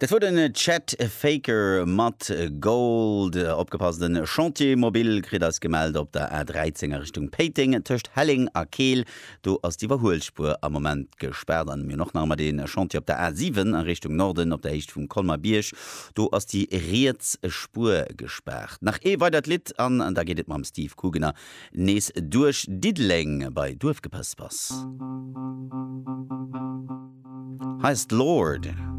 Dat wor den Chet Faker mat Gold. Opgepasst, en Chantier mobile kritt eis gemellt op der A13 a Richtung Péiteng tëscht Helleng a Keel. Do ass d'Iwwerhuelspuer am Moment gespaart. An mir hunn och nach ëmmer dee Chantier op der A7 a Richtung Norden op der Héicht vum Colmer Bierg. Do ass déi riets Spuer gespaart. Nach ee weidert Lidd an da geet et mam Steve Kugener nees duerch Diddeleng bei Duerfgepëspers. Hei ass d'Lorde.